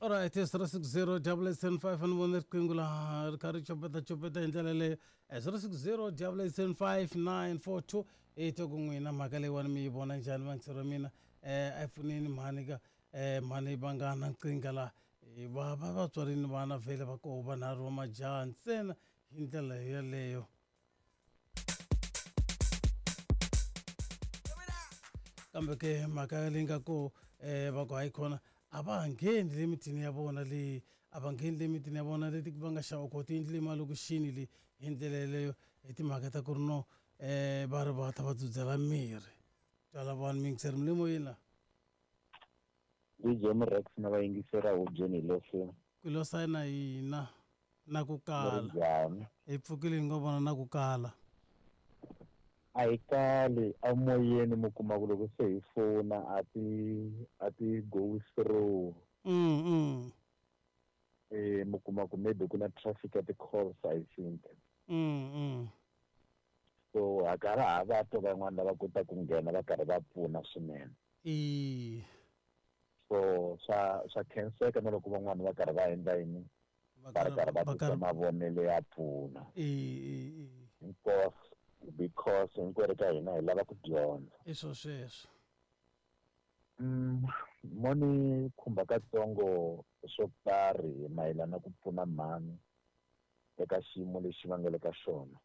Alright, 060 875 ni vone riqingho laha ri kha ri copeta copeta hi ndlela leyo. 060 875 942 i twa ku n'wina mhaka leyiwani mi yi vona njhani vangiseri wa mina. A hi pfuneni mhani ka mhani va nga na nkingha laha. Va va vatswari ni vana vhele va koho vanharhu va majaha ntsena hi ndlela yeleyo. Kambe ke mhaka leyi nga ko va ku hayi khona a va ha ngheni le mitini ya vona leyi a va ngheni le mitini ya vona leti va nga xava kona tiyindlu le malokixini le hi ndlela yeleyo hi timhaka ta ku ri no va ri va ta va dzudzela mirhi. Twala vanhu miyingiseri mi le moyeni la. DJ Mrex na vayingiseri a hubyeni hi leswi. Ku lo sayina hina na ku Mi ri kala. njhani? Hi pfukile hi ngo vona na ku kala. A hi kali emoyeni mi kuma ku loko se hi fona a ti a ti go through. Mi kuma ku maybe ku na traffic ya ti-calls I think. So ha karhi ha va twa van'wana lava kotaka ku nghena va karhi va pfuna swinene. So swa khenseka na loko van'wana va karhi va endla yini, va ri karhi va tisa mavonelo ya pfuna. Hinkwaswo because hinkwerhu ka hina hi lava ku dyondza. I swo sweswo. Mo ni khumba katsongo swo karhi mayelana na ku pfuna mhani eka xiyimo lexi va nga le ka xona.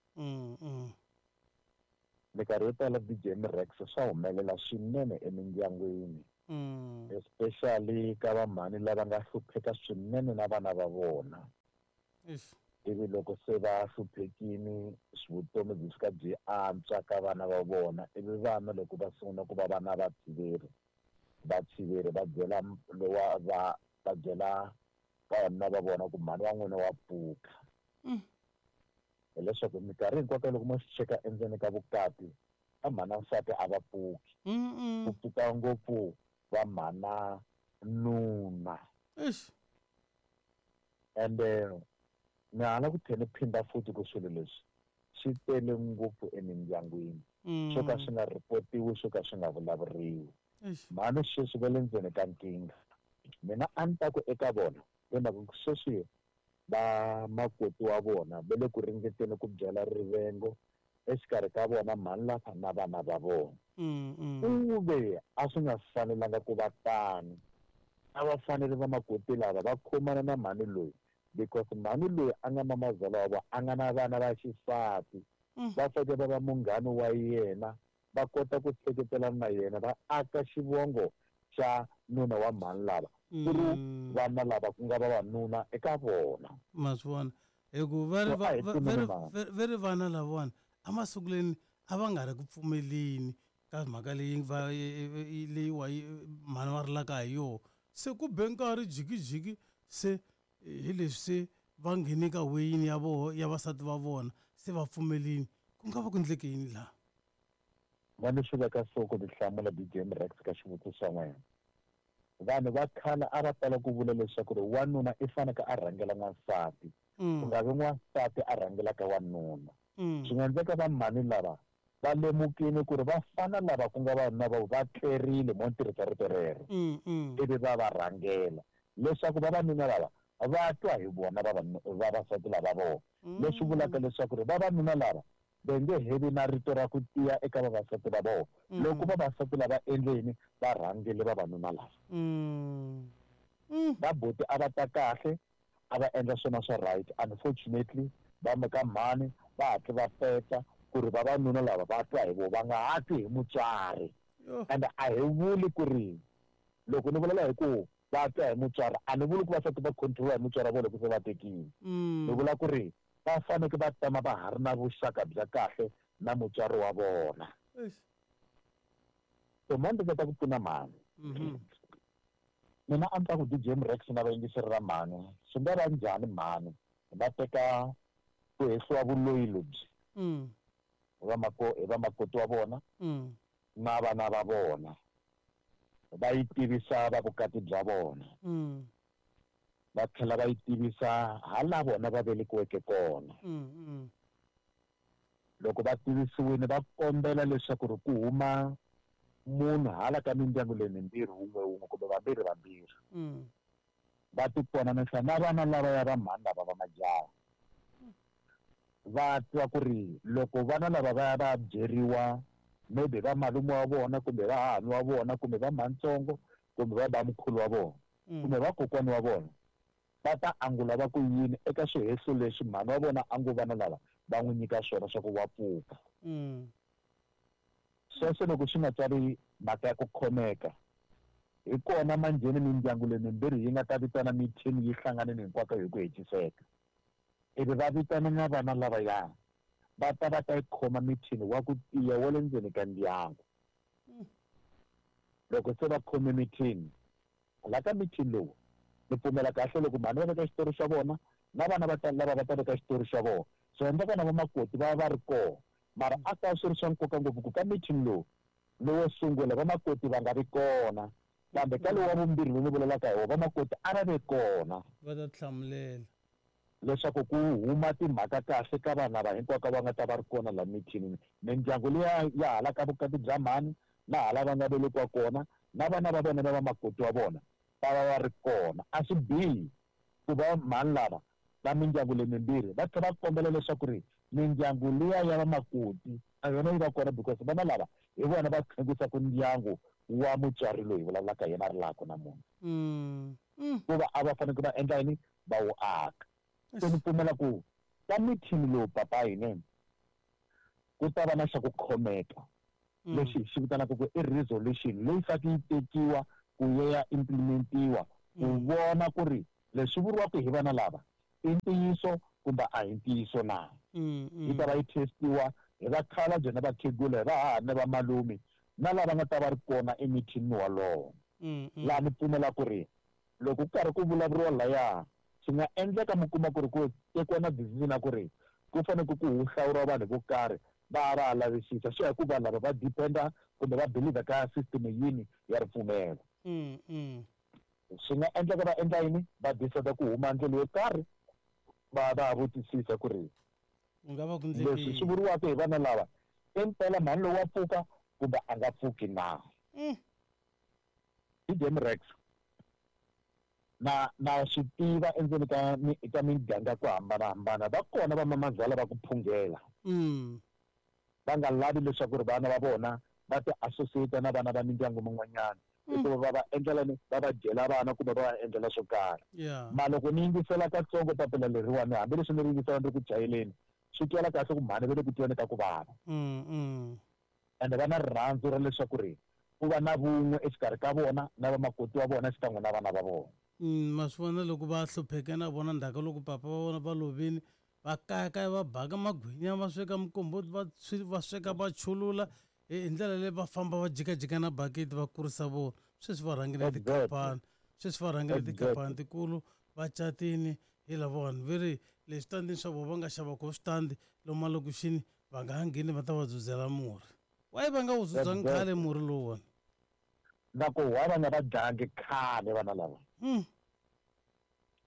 Minkarhi yo tala DJ Mrex swa humelela swinene emindyangwini. Especially ka vamhani lava nga hlupheka swinene na vana va vona. Ivi loko se va hluphekini vutomi byi fika byi antswa ka vana va vona, ivi vana loko va sungula ku va vana va tshiveri, va tshiveri va byela lowa va va byela vavanuna va vona ku mhani wa n'wina wa pfuka. Hileswaku minkarhi hinkwayo loko mo swi cheka endzeni ka vukati, va mhana nsati a va pfuki. Ku pfuka ngopfu va mhana nuna. Ende ni hala ku tlhela ni phinda futhi ku swilo leswi swi tele ngopfu emindyangwini. Swo ka swi nga ripotiwi, swo ka swi nga vulavuriwi. Mhani sweswi va le ndzeni ka nkingha. Mina a ni ta ku eka vona, hi mhaka ku sweswi va makoti wa vona va le ku ringeteni ku byala rivengo exikarhi ka vona mhani lava na vana va vona. Ku ve a swi nga fanelanga ku va tano. A va fanele va makoti lava va khomana na mhani loyi because mhani loyi a nga mamazala wa vona a nga na vana va xisati. Va fanele va va munghana wa yena, va kota ku seketelana na yena, va aka xivongo xa nuna wa mhani lava ku ri vana lava ku nga vavanuna eka vona. Ma swi vona hi ku va ri So, a hi pfuneni vanhu. va ri vana lavawani emasungulweni a va nga ri ku pfumeleni ka mhaka leyi va leyiwa mhani va rilaka hi yona. Se ku be nkarhi jikijiki se hi leswi se va nghene ka weyini ya voho ya vasati va vona se va pfumelini. Ku nga va ku endleke yini laha? Va ni swi veka so ku ti hlamula DJ Mrex ka xivutiso xa n'wina. Vanhu va khale a va tala ku vula leswaku ri wanuna i fanele a rhangela n'wansati. Ku nga vi n'wansati a rhangelaka wanuna. Swi nga endleka va mhani lava va lemukile ku ri vafana lava ku nga vanuna va va tlerile mo ni tirhisa rito rero. Ivi va va rhangela leswaku vavanuna lava va twa hi vona vavasati lava vona. Leswi vulaka leswaku ri vavanuna lava va nge he vi na rito ra ku tiya eka vavasati va vona. Loko vavasati lava endle yini, va rhangele vavanuna lava. Va buti a va ta kahle, a va endla swona swa right. Unfortunately, va ka mhani va hatle va peta ku ri vavanuna lava va twa hi vona, va nga ha twi hi mutswari. And a hi vuli ku ri loko ni vulavula hi ku va twa hi mutswari, a ni vuli ku vasati va control-iwa hi mutswari wa vona loko se va tekile. Ni vula ku ri va faneke va tama va ha ri na vuxaka bya kahle na mutswari wa vona. So mhani ndzi ta ku pfuna mhani. Mina a ni ta ku DJ Mrex na vayingiseri va mhani, swi nga va njhani mhani va teka ku hehliwa vuloyi lebyi hi vamakoti wa vona na vana va vona, va yi tivisa va vukati bya vona. Va tlhela va yi tivisa hala vona va velekiweke kona. Loko va tivisiwile va kombela leswaku ri ku huma munhu hala ka mindyangu leyi mimbirhi wun'we wun'we kumbe vambirhi vambirhi. Va tikonanisa na vana lavaya va mhani lava va majaha. Va twa ku ri loko vana lava va ya va ya byeriwa maybe va malume wa vona kumbe va hahani wa vona kumbe va mhanitsongo kumbe va bamkhulu wa vona kumbe va kokwani wa vona va ta angula va ku yini eka swihehlo leswi mhani wa vona a ngo vana lava va n'wi nyika swona swa ku wa pfuka. Sweswo loko swi nga tswari mhaka ya ku khomeka, hi kona manjheni mindyangu leyi mimbirhi yi nga ta vitana mithini yi hlanganile hinkwako hi ku hetiseka. Ivi va vitana na vana lavaya va ta va ta yi khoma mithini wa ku tiya wa le ndzeni ka ndyangu. Loko se va khome mithini, la ka mithini lowu, ni pfumela kahle loko mhani va veka xitori xa vona na vana va ta lava va ta veka xitori xa vona. Swi endleka na vamakoti va va va ri kona, mara a ta swi ri swa nkoka ngopfu ku ka mithini lowu lowo sungula vamakoti va nga vi kona, kambe ka lowu wa vumbirhi lowu ni vulelaka hi wona vamakoti a va ve kona. Va ta tihlamulela. Leswaku ku huma timhaka kahle ka vanhu lava hinkwako va nga ta va ri kona la mithinini, mindyangu liya ya hala ka vukati bya mhani na hala va nga velekiwa kona na vana va vona na vamakoti wa vona va va va ri kona. A swi bihi ku va mhani lava va mindyangu leyi mimbirhi va tlhela va kombela leswaku ri mindyangu liya ya vamakoti na yona yi va kona because vana lava hi vona va tlhengisaka ndyangu wa mutswari loyi hi vulavulaka hi yena a rilaka namuntlha. Ku va a va fanekele va endla yini? Va wu aka. Se ni pfumela ku ka mithini lowu papa hina ku ta va na xa ku khomeka lexi hi xi vitanaka ku i resolution leyi faneke yi tekiwa ku ya ya implementiwa ku vona ku ri leswi vuriwaka hi vana lava i ntiyiso kumbe a hi ntiyiso na. Yi ta va yi testiwa hi vakhalabye na vakhegula, hi vahahani na vamalume na lava nga ta va ri kona emithinini wolowo. Laha ni pfumela ku ri loko ku karhi ku vulavuriwa laya, swi nga endleka mi kuma ku ri ku tekiwa na decision ya ku ri ku faneke ku hlawuriwa vanhu vo karhi va ya va ya lavisisa. Swi ya hi ku vanhu lava va depend-a kumbe va believe ka system yini ya ripfumelo. Swi nga endleka va endla yini? Va decide ku huma ndlela yo karhi va va ya vutisisa ku ri Ku nga va ku endleke leswi swi yini? vuriwaka hi vana lava i mpela mhani lowu wa pfuka kumbe a nga pfuki na? DJ Rex, na na swi tiva endzeni ka mi ka miganga ku hambanahambana va kona vamamazala va ku phungela. Va nga lavi leswaku ri vana va vona va ti associate na vana va mindyangu min'wanyana hikuva va va endlela ni va va dyela vana kumbe va va endlela swo karhi. Ma loko ni yingisela katsongo papila leriwani hambileswi ni ri yingisela ni ri ku chayeleni swi twala kahle ku mhani va le ku tweni ka ku vava. Ende va na rirhandzu ra leswaku ri ku va na vun'we exikarhi ka vona na vamakoti wa vona xikan'we na vana va vona. Ma swi vona loko va hlupheke na vona ndzhaku ka loko papa va vona va lovile, va kayakaya va baka magwinya va sweka mikomboti va va sweka va chulula hi ndlela leyi va famba va jikajika na bakiti va kurisa vona. Sweswi va rhangile tikhampani, sweswi va rhangile tikhampani tikulu va catini hi lavawani ve ri le switandini swa vona va nga xava kona switandi lomu malokixini va nga ha ngheni va ta va dzudzela murhi. Why va nga wu dzudzangi khale murhi lowuwani? Na ku why va nga va dlangi khale vana lava?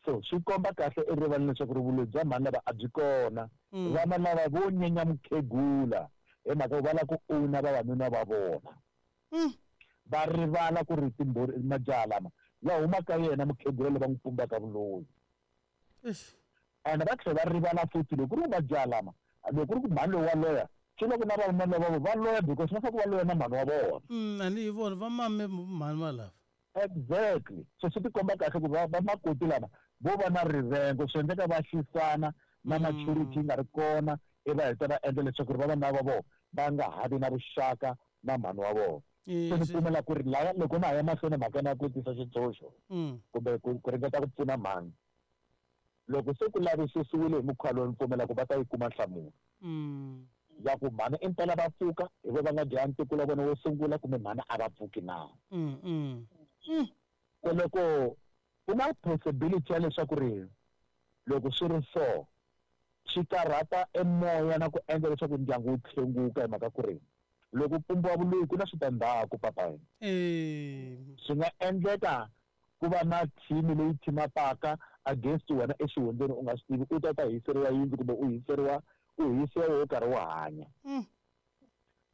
So swi komba kahle erivaleni leswaku ri vuloyi bya mhani lava a byi kona. Vana lava vo nyenya mukhegula hi mhaka ku va lava ku owner vavanuna va vona. Va rivala ku ri timbhuri majaha lama ya huma ka yena mukhegula loyi va n'wi pumbaka vuloyi. Ene va tlhela va rivala futhi loko ku ri ku majaha lama loko ku ri ku mhani loyi wa loya swi vula ku na vavanuna lava va loya because va fanele va loya na mhani wa vona. A ni hi vona va mame mhani valava. Exactly. So swi tikomba kahle ku va vamakoti lava vo va na rivengo swi endleka va xisana na maturity yi nga ri kona ivi va heta va endla leswaku ri vavanuna va vona va nga ha vi na vuxaka na mhani wa vona. Se ni pfumela ku ri laya loko na ha ya mahlweni mhaka ya ku tisa xitshunxo kumbe ku ku ringeta ku pfuna mhani loko se ku lavisisiwile hi mukhuva lowu ni pfumela ku va ta yi kuma nhlamulo ya ku mhani impela va pfuka hi vo va nga dlaya ntukulu wa vona wo sungula kumbe mhani a va pfuki na. Se loko ku na possibility ya leswaku ri loko swi ri so swi karhata emoya na ku endla leswaku ndyangu wu tlhenguka hi mhaka ku ri loko pumbiwa vuloyi ku na switandzhaku papa. Swi nga endleka ku va na team leyi team-upaka against wena exihundleni u nga swi tivi u ta ta hiseriwa yindlu kumbe u hiseriwa u hisiwa wo karhi u hanya.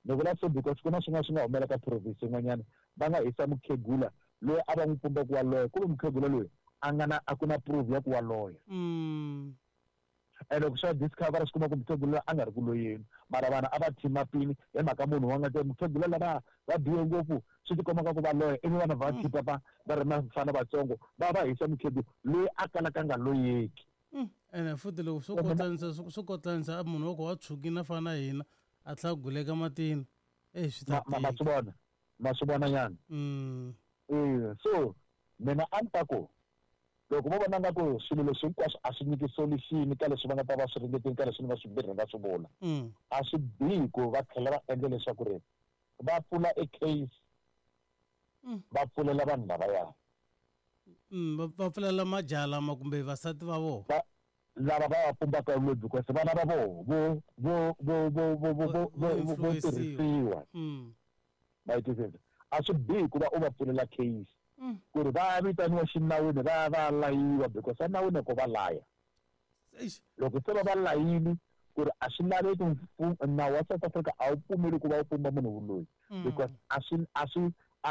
Ni vula so because ku na swin'wana swi nga humelela ka province yin'wanyana va nga hisa mukhegula loyi a va n'wi pumba ku wa loya ku ve mukhegula loyi A nga na a ku na proof ya ku wa loya. Ene loko swa discover swi kuma ku mukhegula a nga ri ku loyeni, mara vanhu a va thima pini hi mhaka munhu wa nga te mukhegula lava va bihe ngopfu, swi tikomba ka ku va loya, ivi vanhu va thipa va va ri mafana vatsongo va va hisa mukhegula loyi a kalaka a nga loyeki. Ene futhi loko swo kotlanisa swo kotlanisa a munhu wa ku wa tshwukile a fana na hina a tlhela guleka matini, e swi ta ma swi vona, ma swi vona nyana. Eh, so mina a ni ta ku loko vo vona nga ku swilo leswi hinkwaswo a swi nyiki solution ka leswi va nga ta va swi ringeteni, ka leswi ni nga swi mbirhi nga swi vula, a swi bihi ku va tlhela va endla leswaku ri va pfula e case, va pfulela vanhu lavaya. Va pfulela majaha lama kumbe vasati va vona lava va va pumbaka loyi, because vana va voho vo vo vo vo vo vo vo vo vo tirhisiwa. Ma yi twisisa? A swi bihi ku va u va pfulela case ku ri va ya vitaniwa xinawini, va ya va layiwa, because enawini ko va laya. Loko se va va layini ku ri a swi laveki, nawu wa South Africa a wu pfumeli ku va u pumba munhu vuloyi, because a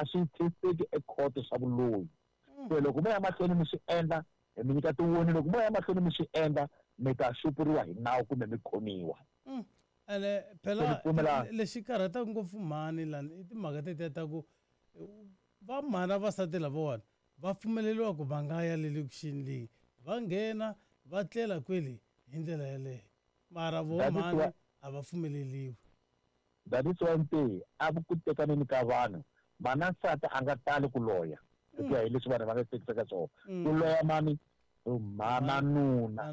swi testeki ecourt swa vuloyi. Se loko mo ya mahlweni mi swi endla, hi mi nyika tiwoni, loko mo ya mahlweni mi swi endla, mi ta xupuriwa hi nawu kumbe mi khomiwa. Ene phela lexi karhataka ngopfu mhani lani i timhaka tetiya ta ku va mhana vasati lavawani va pfumeleriwa ku va nga ya le lokixini leyi, va nghena va tlela kwele hi ndlela yeleyo, mara vo mhani a va pfumeleliwi. That is why nte a ku tekaneni ka vanhu, mana nsati a nga tali ku loya, hi ku ya hi leswi vanhu va nga tekisaka swona. Ku loya mani? Mhana nuna.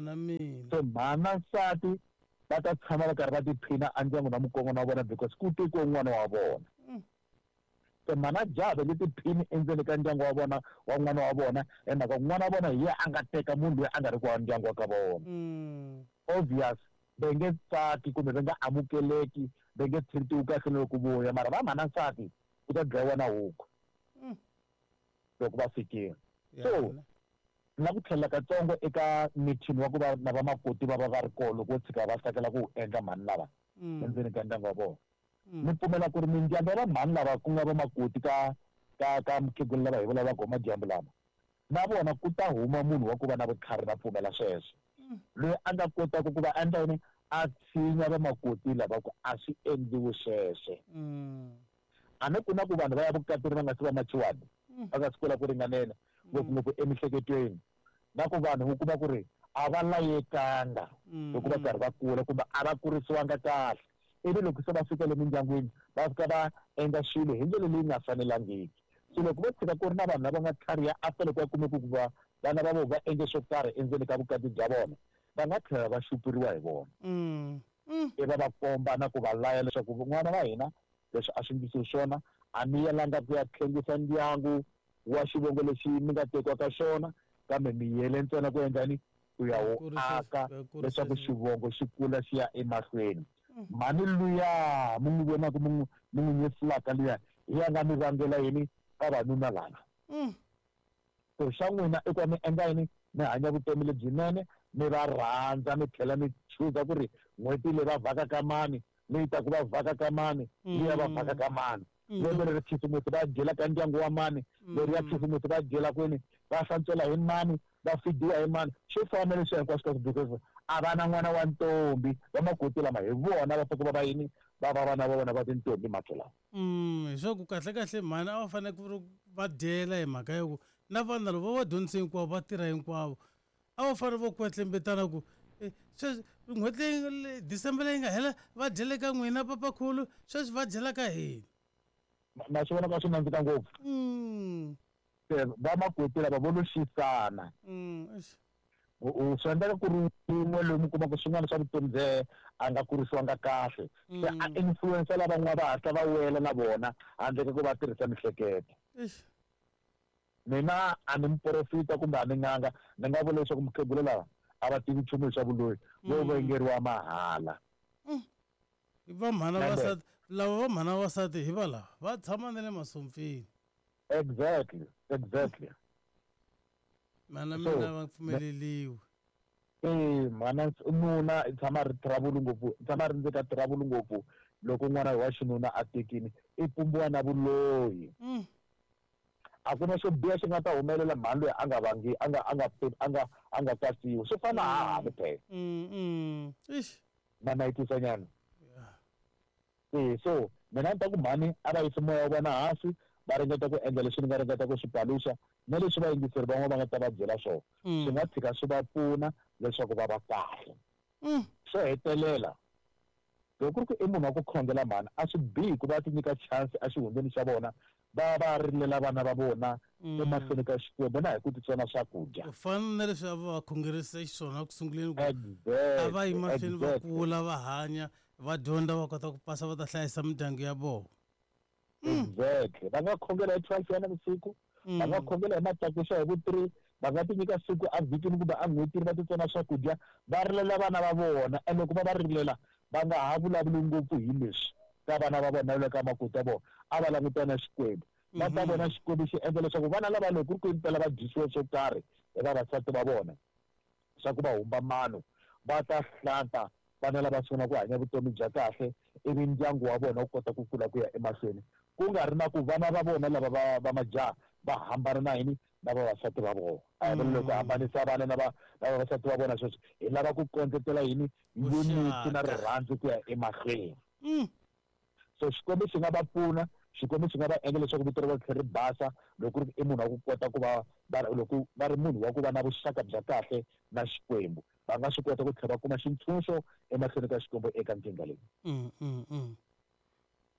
So mhana nsati va ta tshama va karhi va tiphina endyangwini wa mukongo na vona, because ku tekiwe n'wana wa vona. Se mhana jaha va nge tiphini endzeni ka ndyangu wa vona, wa n'wana wa vona, hi mhaka ku n'wana wa vona hi yena a nga teka munhu loyi a nga ri ku wa ndyangu wa ka vona. Obvious va nge tsaki kumbe va nga amukeleki, va nge treat-iwi kahle na loko vuya, mara va mhana nsati ku ta dlayiwa na huku loko va fikile. So na ku tlhelela katsongo eka meeting wa ku va na vamakoti va va va ri kona, loko wo tshika va tsakela ku wu endla mhani lava endzeni ka ndyangu wa vona, ni pfumela ku ri mindyangu ya vamhani lava ku nga vamakoti ka mukhegula lava hi vulavulaka hi madyambu lama, na vona ku ta huma munhu wa ku va na vutlhari, na pfumela sweswo, loyi a nga kotaka ku va endla yini, a tshinya vamakoti lava ku a swi endliwi sweswo. A ni ku na ku vanhu va ya vukatini va nga si va machuwani, va nga si kula ku ringanela, ngopfungopfu emihleketweni, na ku vanhu u kuma ku ri a va layekanga loko va karhi va kula, kumbe a va kurisiwanga kahle, ivi loko se va fika le mindyangwini va fika va endla swilo hi ndlela leyi nga fanelangiki. So loko vo tshika ku ri na vanhu lava nga tlhariha, after loko va kume ku va vana va vona va endle swo karhi endzeni ka vukati bya vona, va nga tlhela va xupuriwa hi vona, i va va komba na ku va laya leswaku n'wana wa hina leswi a swi endlisiwi swona, a mi yelanga ku ya tlhengisa ndyangu wa xivongo lexi mi nga tekiwa ka xona, kambe mi yele ntsena ku endla ni ku ya wu aka leswaku xivongo xi kula xi ya emahlweni. Mhani luya mi n'wi vonaka, mi n'wi nyefulaka luya, hi ya nga mi vangela yini vavanuna lava. So xa n'wina i ku va mi endla yini? Mi hanya vutomi lebyinene, mi va rhandza, mi tlhela mi chuza ku ri n'hweti leyi va vhaka ka mani, leyi taku va vhaka ka mani, liya va vhaka ka mani, lembe leri khisimusi va dyela ka ndyangu wa mani, leri ya khisimusi va dyela kwini, va hlantswela hi mani, va fidiwa hi mani, swo fana na leswiya hinkwaswo ka, because a va na n'wana wa ntombi. Vamakoti lama hi vona va faneke va va yini, va va vana va vona va tintombi makhe lawa. Hi swa ku kahle kahle mhani a va fanele ku ri va dyela, hi mhaka ya ku na vana loko va va dyondzise hinkwavo, va tirha hinkwavo, a va fanele va kwetlembetana ku sweswi n'hweti leyi December leyi nga hela va dyele ka n'wina papakhulu, sweswi va dyela ka hina. Ma swi vona ka swi nandzika ngopfu. Se vamakoti lava vo lo xisana. Swi endleka ku ri wun'we loyi mi kuma ku swin'wana swa vutomi bye a nga kurisiwanga kahle, se a influence lavan'wana, va hatla va wela na vona handle ka ku va tirhisa mihleketo. Mina a ni muprofita kumbe a ni n'anga, ni nga vula leswaku mukhegula lava a va tivi nchumu hi swa vuloyi, vo vengeriwa mahala. Va mhana vasati lava, va mhana vasati hi va lava va tshama na le masompfini. Exactly. Mhana mina va pfumeleliwi. E mhana nuna i tshama a ri trouble ngopfu, i tshama a ri ndzeni ka trouble ngopfu. Loko n'wana wa xinuna a tekini, i pumbiwa na vuloyi. A ku na xo biha xi nga ta humelela mhani loyi a nga vangi a nga a nga a nga a nga katsiwi swi fana hahani phela. Na na yi tisa nyana. E so mina ni ta ku mhani a va yisi moya wa vona hansi va ringeta ku endla leswi ni nga ringeta ku swi paluxa na leswi vayingiseri van'wana va nga ta va byela swona swi nga tshika swi va pfuna leswaku va va kahle. Xo hetelela loko ku ri ku i munhu wa ku khongela mhani a swi bihi ku va ti nyika chance exihundleni xa vona va va rilela vana va vona emahlweni ka Xikwembu na hi ku titsona swakudya. Ku fana na leswi a va va khongerisa xiswona eku sunguleni ku a va yi mahlweni va kula va hanya va dyondza va kota ku pasa va ta hlayisa mindyangu ya vona. Exactly. Va nga khongela hi 12 ya navusiku, va nga khongela hi matlakuxa hi vu 3, va nga ti nyika siku evhikini kumbe en'hwetini va titsona swakudya va rilela vana va vona. And loko va va rilela va nga ha vulavuli ngopfu hi leswi ka vana va vona na le ka makoti ya vona, a va langutana na Xikwembu. Va ta vona Xikwembu xi endla leswaku vana lava loko ku ri ku impela va dyisiwe swo karhi hi vavasati va vona swa ku va humba mano, va ta hlanta vana lava sungula ku hanya vutomi bya kahle ivi ndyangu wa vona wu kota ku kula ku ya emahlweni ku nga ri na ku vana va vona lava va va majaha va hambana na yini na vavasati va vona. A hi vula loko hambanisa vana na va na vavasati va vona sweswo hi lava ku kondletela yini unity na rirhandzu ku ya emahlweni. So Xikwembu xi nga va pfuna, Xikwembu xi nga va endla leswaku vito ra vona ri tlhela ri basa loko ku ri i munhu wa ku kota ku va va loko va ri munhu wa ku va na vuxaka bya kahle na Xikwembu va nga swi kota ku tlhela va kuma xintshunxo emahlweni ka Xikwembu eka nkingha leyi.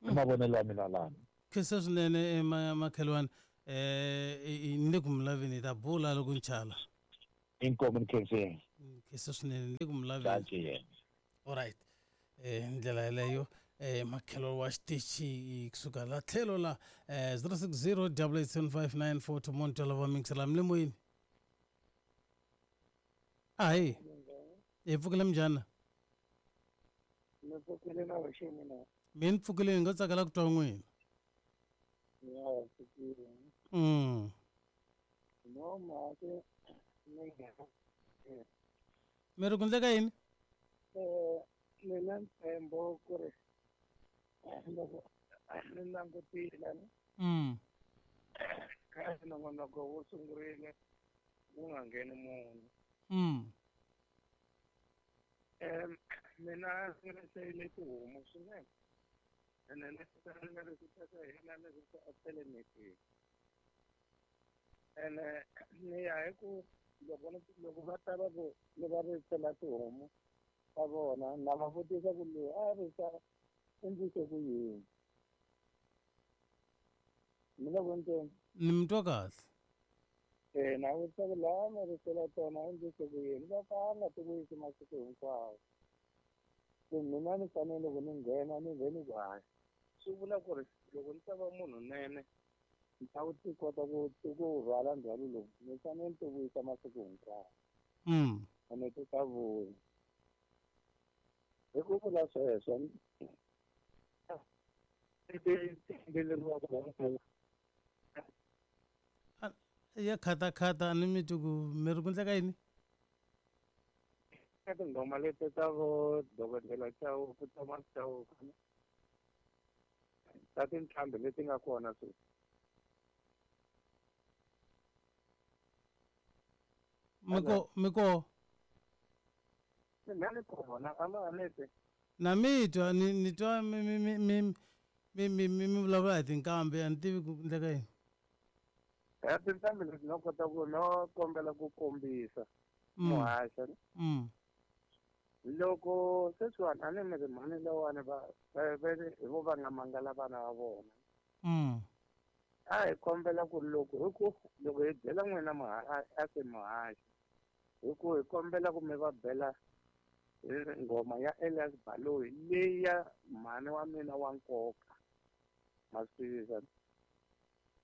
I mavonelo ya mina lani. Khensa swinene makhelwani ni le ku mi laveni hi ta bula loko ni chala. Inkomu ni khensile. Khensa swinene ni le ku mi laveni. Alright. Ndlela yeleyo makhelwani wa xitichi kusuka la tlhelo la 060 8875942 munhu twela va mingisela mi le moyeni. Ahi. Hi pfukile minjhani? Ni pfukile na wexeni na. Mi ni pfukile ni nga tsakela ku twa n'wina. Ya pfukile. No mhaka ni nghena. Mi ri ku endleka yini? Ni na ntshembo ku ri loko ni langutile ka nongonoko wu sungurile wu nga ngheni munhu. Mina ni riseyile tihomu swinene ene ni ni hina ni risa alternative ene ni ya hi ku loko loko va ta va ku ni va risela tihomu ta vona na va vutisa ku loyi a risa endlise ku yini. Mi le ku ntsena? Ni mi twa kahle. Na vutisa ku laha mi risela tona endlise ku yini va ka a nga ti vuyisi masiku hinkwawo. Se mina ni fanele loko ni nghena ni vhe ni ku hayi swi vula ku ri loko ni ta va munhu nene ni ta ti kota ku ku rhwala ndzhwalo lowu ni fanele ni ti vuyisa masiku hinkwawo. Ene ti ta vuya. Hi ku vula sweswo ya khatakhata a ni mi twi ku mi ri ku endleka yini? Ka tinghoma leti ta vo dokodela Chauke Thomas Chauke ta tinqambi leti nga kona sweswi. Miko miko Mina ni kona a ma ni twi. Na mi twa ni ni twa mi mi mi mi mi mi mi mi vulavula hi tinqambi a ni tivi ku endleka yini. Ya tinqambi leti no kota ku no kombela ku kombisa muhaxa. Loko sweswiwani a ni mi ri mhani lawani va va hi vo va nga mangala vana va vona. A hi kombela ku loko hi ku loko hi byela n'wina a se muhaxi hi ku hi kombela ku mi va bela nghoma ya Elias Baloyi leyi ya mhani wa mina wa nkoka. Ma swi tivisa.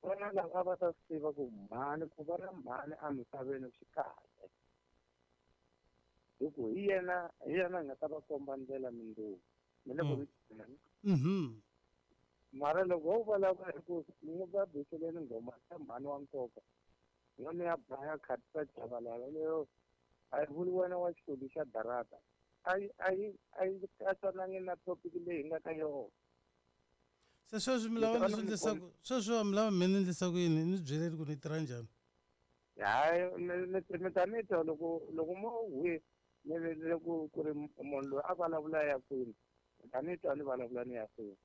Vana lava a va ta swi tiva ku mhani ku va na mhani emisaveni swi kahle. Hi ku hi yena hi yena a nga ta va komba ndlela mundzuku. Mi le ku ni Mara loko ho vulavula hi ku ni va biseleni nghoma ya mhani wa nkoka yona ya Brian Khatisa Chabalala leyo a yi vuli wena wa xikolo xa darata a yi a yi a yi katsanangi na topic leyi hi nga ka yona. Se sweswi mi lava ni swi endlisa ku sweswi mi lava mi ni endlisa ku yini? Ni byeleni ku ni tirha njhani. Hayi, mi ta ni twa loko mo hwi ni ku ku ri munhu loyi a vulavula ya kwini, mi ta ni twa ni vulavula ni ya kwini.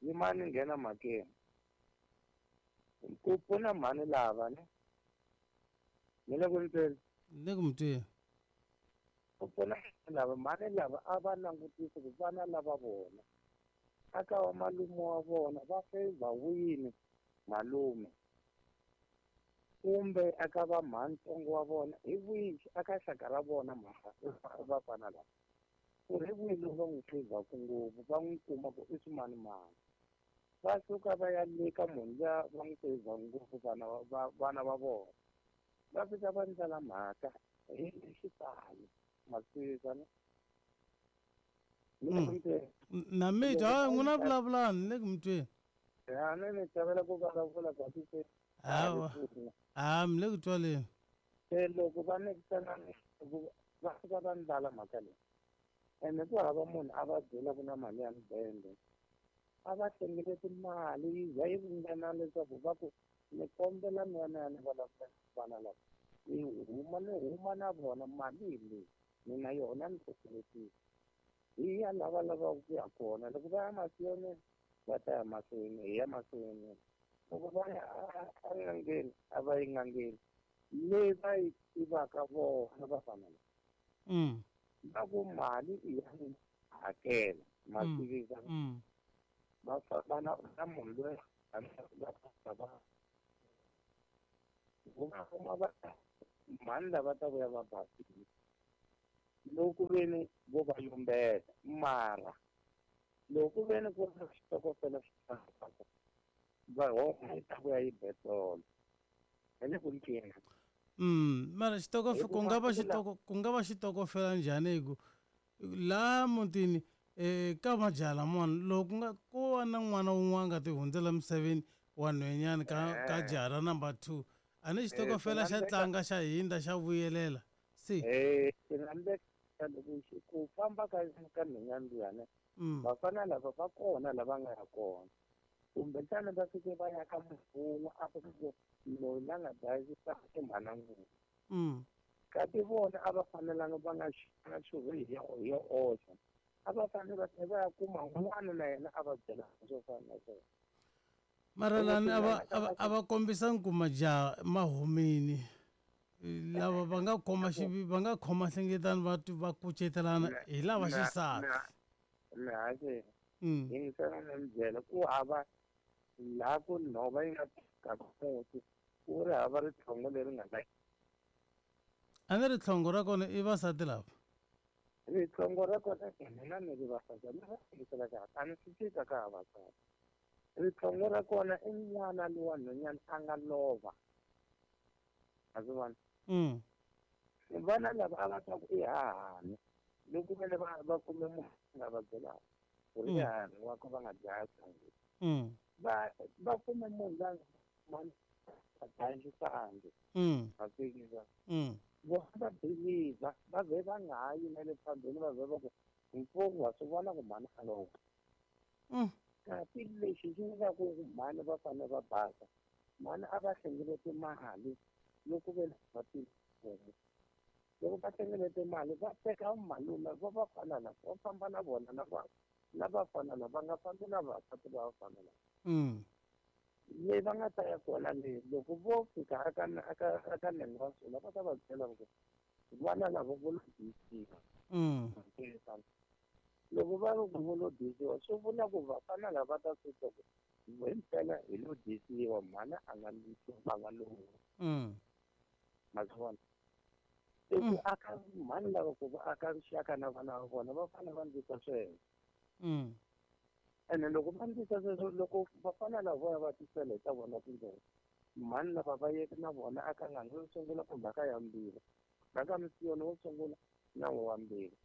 Yimani nghena mhakeni. Ku pfuna mhani lava ne? Ni le ku ni tweni? Ni le ku mi tweni. Ku pfuna lava mhani lava a va langutisi ku vana lava vona aka wa malume wa vona va favor wini malume kumbe aka va mhantsongo wa vona hi wihi aka xaka ra vona mhaka vafana lava ku ri wihi lowu va n'wi favor-ku ngopfu va n'wi kuma ku i swimanimani va suka va ya le ka munhu luya va n'wi favor ngopfu vana va vona va fika va ndlela mhaka hi xitalo ma twisisa ne? Na mi twa n'wina vulavulani ni le ku mi tweni. Ya ni chavela ku vulavula kasi se hawa ha mi le ku twaleni. Se loko va nekisana va fika va ndlala mhaka leyi ene ku hava munhu a va byela ku na mali ya mudende a va hlengeleti mali yi za yi ringana leswaku va ku ni kombela mi ya ni ya ni vulavula vana lava ni huma ni huma na vona mali leyi ni na yona ni hlengeletile hi ya lava lavaka ku ya kona loko va ya mahlweni va ta ya mahlweni hi ya mahlweni loko va ya en'angeni a va yi n'angeni leyi va yi tivaka vona vafana lava va ku mali i ya hakela ma tivisa va famba na munhu loyi va kuma va mhani lava ta vuya va basile loko veni vo va yumbeta mara loko veni ku ri xitokofela xi va homa yi ta vuya yi betolo hi le ku ncina. Mara xitokofela ku nga va xitokofela njhani hi ku laha mutini ka majaha lamawani loko nga ko va na n'wana wun'wana nga ti hundzela misaveni wa nhwenyani ka jaha ra number 2 a ni xitokofela xa tlanga xa hindza xa vuyelela se loko ku famba ka nhwenyani luyani vafana lava va kona lava nga ya kona kumbexana va fike va ya ka munhu wun'we a ku loyi la nga dlayisa i mhana ngopfu kasi vona a va fanelanga va nga xuvi hi yo oxa a va fanele va tlhela va ya kuma un'wana na yena a va byela swo fana na swona. Mara lani a va kombisangi ku majaha ma humini lava va nga khoma va nga khoma nhlengeletano va kucetelana hi lava xisati. Mihashe yingisela ni mi byela ku hava laha ku nhova yi nga ka muti ku ri hava ritlhongo leri nga la. A ni ritlhongo ra kona i vasati lava? Ritlhongo ra kona mina ni ri vasati ni va yingisela kahle a ni swi fika ka ha vasati. Ritlhongo ra kona i n'wana lowa nhwanyana a nga lova a swi vona. Vana lava a va ta ku i hahani loko vele va kume munhu nga va byelaka ku ri i hahani wa ku va nga dlaya sangi va kume munhu la nga dlayisangi a fikisa vona va believe va ze va nga ha yi na le phambeni va ze va ku mfumo wa swi vona ku mhani a lova. Kasi lexi xi nyikaka ku mhani va fanele va basa mhani a va hlengeleti mali loko ve va tihomu loko va hlengelete mali va teka malume va va fana na va famba na vona na vafana lava va nga fambi na vavasati va vafana lava. Leyi va nga ta ya kona leyi loko vo fika aka nenge wa sula va ta va byela ku vana lava vo lo disiwa. Loko va ri ku vo lo disiwa swi vula ku vafana lava va ta swi twa ku himpela hi lo disiwa mhani a nga va nga lowu. Ma swi vona? I ku aka mhani lava ku va aka rixaka na vana va vona va fanele va ndlisa sweswo. Ene loko va ndlisa sweswo loko vafana lava vo ya va tisela hi ta vona tindlela mhani lava va yeke na vona aka n'anga yo sungula kumbe aka ya mbirhi aka misiyoni wo sungula na wa mbirhi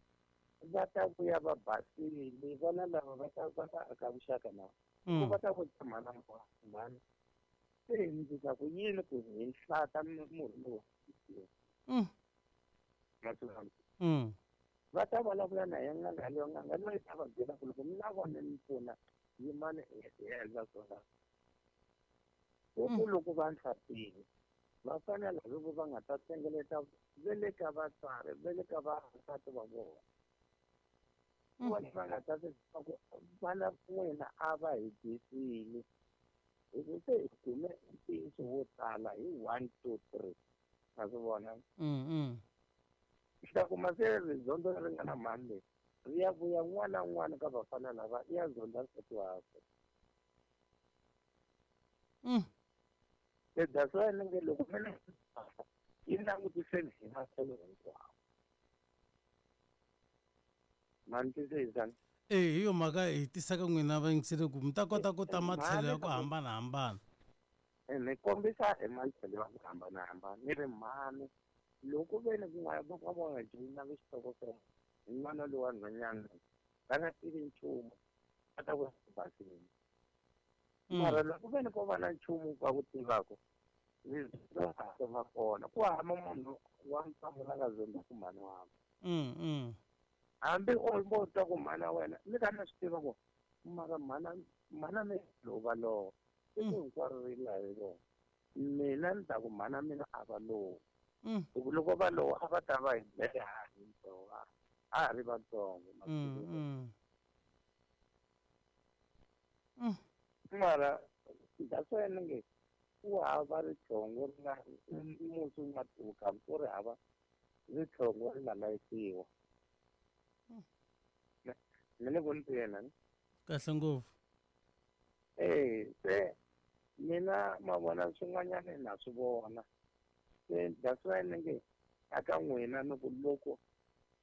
va ta vuya va basile vana lava va ta aka vuxaka na ku va ta vutisa mhana mhani se hi ndlisa ku yini ku hi hlata murhi lowu va ta vulavula na yena n'anga leyo n'anga leyo yi ta va byela ku loko mi na vona mi pfuna Yimani hi endla swona. Ku loko va ntlhatile va fanele loko va nga ta hlengeleta ve le ka vatswari ve le ka vasati va vona. Vona va nga ta ku vana n'wina a va hi dyisile hi ku se hi kume ntiyiso wo tala hi 1 2 3 ma swi vona. Ta kuma se rizondho leri nga na mhani leyi ri ya vuya n'wana na n'wana ka vafana lava i ya zonda nsati wakwe. Se that's why ni nge loko mina yi langutiseni hi matlhelo hinkwawo. Ma ni twisisa? Hi yo mhaka hi tisaka n'wina vayingiseri ku mi ta kota ku ta matlhelo ya ku hambanahambana. Ni kombisa hi matlhelo ya ku hambanahambana ni ri mhani loko ve ni ku nga va va nga joyinanga xitokofela hi n'wana lowa nhwanyana va nga tivi nchumu va ta ku basini. Mara loko ve ni ko va na nchumu va ku tivaka va kona ku hava munhu wa ntsongo la nga zondaku mhani wakwe. Hambi o vo twa ku mhana wena ni ka na swi tiva ku mara mhana mina lowu va lowa siku hinkwaro ri la hi vona mina ni ta ku mhana mina a va lowa. Hi ku loko va lowa a va ta va hi dlele ha ri ntsongo a ha ri vatsongo. Mara that's why ni nge ku hava ritlhongo ri nga musi wu nga tuka ku ri hava ritlhongo ri nga layisiwa. Ni le ku ni twela ni? Kahle ngopfu. Se mina ma vona swin'wanyana na swi vona. Se that's why ni nge aka n'wina ni ku loko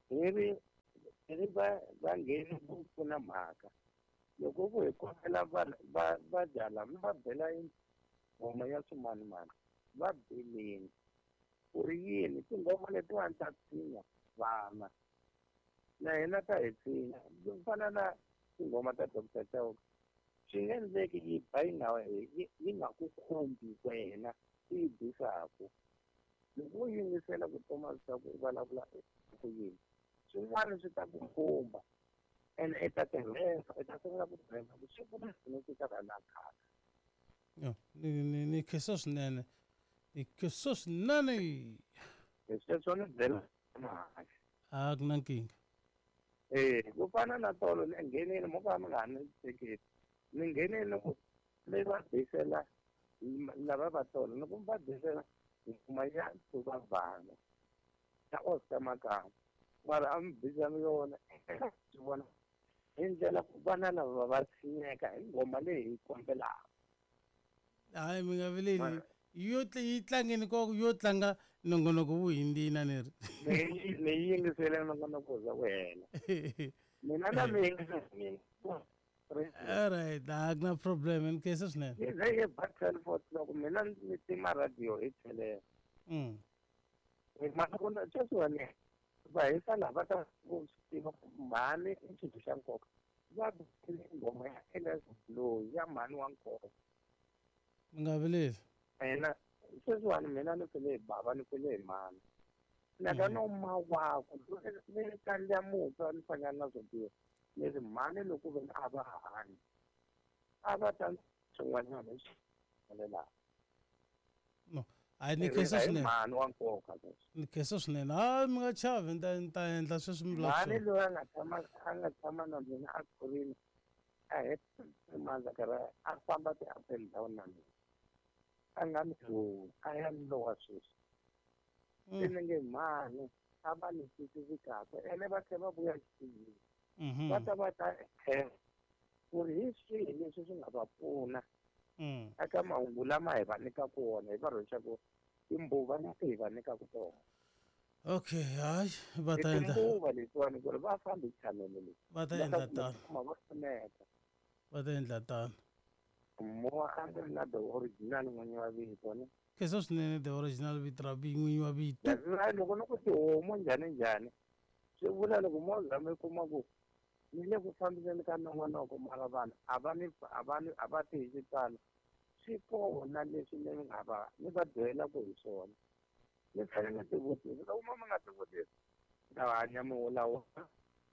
hi ri va ngheni ku pfuna mhaka loko ku hi kombela va jala mi va bela nghoma ya swimanimani va beleni ku ri yini tinghoma letiwani ta tshinya vana na hina ta hi tshinya ku fana na tinghoma ta Dr. Chauke swi nge endleki yi ba yi nga ku khumbi wena u yi bisaku. Loko u yingisela ku Thomas Chauke u vulavula ku yini swin'wana swi ta ku khumba ene i ta tirhesa i ta sungula ku tirhesa ku swi pfuna swinene ku ta na khale. Ni khensa swinene. Ni khensa swinene. Hi sweswo ni byela mhaka. A ku na nkingha. Ku fana na tolo ni nghenile mo ka mi nga ha ni teketi. Ni nghenile ku mi va bisela lava va tolo ni ku va bisela nghoma ya Tuva Vana ya Oscar Makamba. Mara a mi bisanga yona swi vona hi ndlela ku vana lava va tshinyeka hi nghoma leyi hi kombelaka. Hayi mi nga vileli yo yi tlangeni ko yo tlanga nongonoko wu hindzina ni ri. Ni yingisele nongonoko za ku hela. Mina na mi yingisela mina. All right, a ku na problem ni khensa swinene. Ni ze hi ba 12 o'clock mina ni tima radio hi tlhelela. Masiku sweswiwani va hisa laha va ta ku swi tiva ku mhani i xilo xa nkoka. Va bile nghoma ya Elias loyi ya mhani wa nkoka. Mi nga vileli. Ena sweswiwani mina ni fele hi bava ni fele hi mhani. Na ka no ma wakwe ni kandza mutwa ni fanyana na swo biha. Ni ri mhani loko ve a va hanyi a va ta swin'wanyana leswi humelelaka. No, hayi ni khensa swinene. Mhani wa nkoka leswi. Ni khensa swinene. Hayi mi nga chavi ni ta endla sweswi mi vulaka swona. Mhani loyi a nga tshama na mina a kurile a heta mandla karhi a famba ti-up and down na mina. A nga ni loyi a ya ni lowa sweswi. Se ni nge mhani a va ni twisisi kahle ene va tlhela va vuya xitiyini. Va ta va ta ku ri hi swihi leswi swi nga va pfuna eka mahungu lama hi va nyikaka wona hi va rhwexaka timbuva leti hi va nyikaka tona. Okay, hayi va ta endla timbuva letiwani ku ri va fambi chanele leyi. Va ta endla tano. Va pfuneka. Va ta endla tano. Mo a ndzi ri na the original n'winyi wa vito ni. Khensa swinene the original vito ra n'winyi wa vito. Loko ni ku tihomu njhani njhani swi vula loko mo zama i kuma ku ni le ku fambiseni ka nongonoko mara vanhu a va ti hi xitalo swi kona leswi ni nga va ni va byelaka hi swona. Ni fanele ni tivutisa loko mo mi nga tivutisi ta hanya mi wulawa.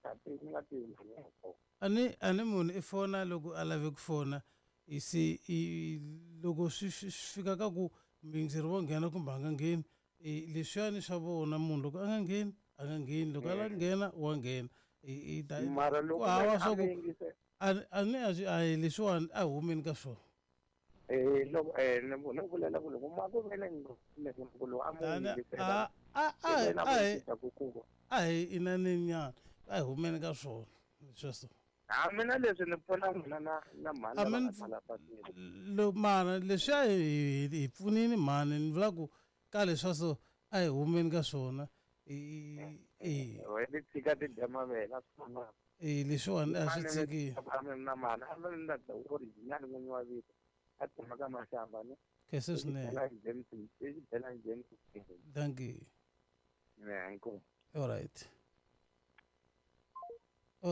A ti nga tivi mhani ya kona. A ni munhu i fona loko a lave ku fona se i loko swi fika ka ku muyingiseri wo nghena kumbe a nga ngheni, leswiyani swa vona munhu loko a nga ngheni a nga ngheni, loko a lava ku nghena wa nghena. I ta Mara loko ku hava a swa ku mi yingise a ni a swi a hi leswiwani, a hi humeni ka swona. Loko ni vulela ku loko ma ku ve ni ku lowu a mu yingisela a a i ve na a hi vutisa ku ku a hi inaneni nyana, a hi humeni ka swona sweswo. A mina leswi ni pfuna n'wina na mhani A lava mi nga ni tala patwini. Mara leswiya hi pfunini mhani, ni vula ku ka leswa so a hi humeni ka swona. We ni tshika ti dya mavele a swi fana. Leswiwani a swi tshiki. A mi na mhani a mi na the original n'winyi wa vito a tshama ka Mashamba ni. Khense swinene. James, i Xibelani James. Thank you. Ne, inkomu. All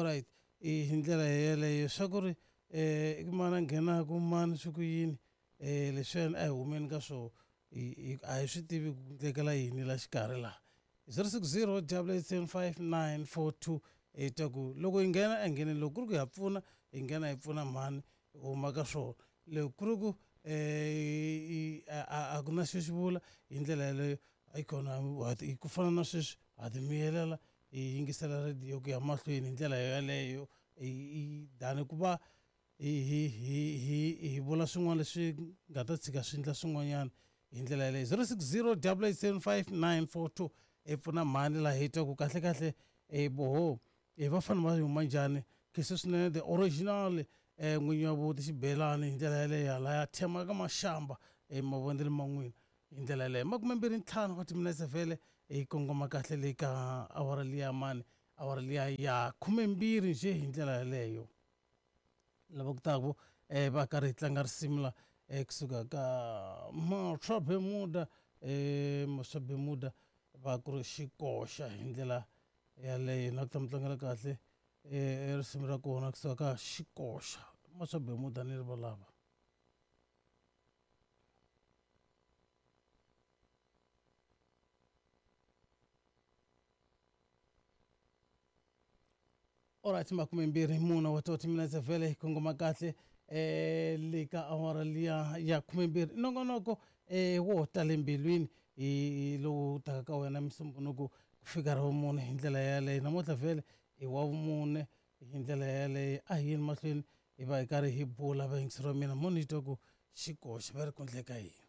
right, hi ndlela yeleyo swa ku ri i mani a nghenaku, mani swi ku yini, leswiyani a hi humeni ka swona. A hi swi tivi ku endlekela yini la xikarhi laha. 060 875 942 hi twa ku loko hi nghena a ngheneni, loko ku ri ku ha pfuna hi nghena hi pfuna mhani, hi huma ka swona. Loko ku ri ku a ku na xo xi vula hi ndlela yeleyo, ayikona ku fana na sweswi ha ti miyelela, hi yingisela radiyo ku ya mahlweni hi ndlela yeleyo than ku va hi vula swin'wana leswi nga ta tshika swi endla swin'wanyana hi ndlela yeleyo. 060 875 942 hi pfuna mhani laha, hi twa ku kahle kahle boho va fanele va huma njhani. Khense swinene, the original n'winyi wa vuti Xibelani hi ndlela yeleyo halaya thema ka Mashamba mavonelo man'wina hi ndlela yeleyo. 25 wa timinetse vhele hi kongoma kahle le ka awara liya mani, awara liya ya 12 nje hi ndlela yeleyo. Lava ku taku va karhi hi tlanga risimu la kusuka ka Matswa Bermuda, Matswa Bermuda va ku ri xikoxa hi ndlela yaleyo. Na ku ta mi tlangela kahle risimu ra kona kusuka ka xikoxa Matswa Bermuda ni ri valava. Alright, 24 wa timinetse vhele hi kongoma kahle le ka awara liya ya 12. Nongonoko wo tale mbilwini hi lowu taka ka wena Musumbunuku ku fika ra vumune hi ndlela yaleyo. Namuntlha vhele i wa vumune hi ndlela yaleyo. A hi yeni mahlweni hi va hi karhi hi bula, vayingiseri wa mina. Mo ni twa ku xikoxa va ri ku endleka yini?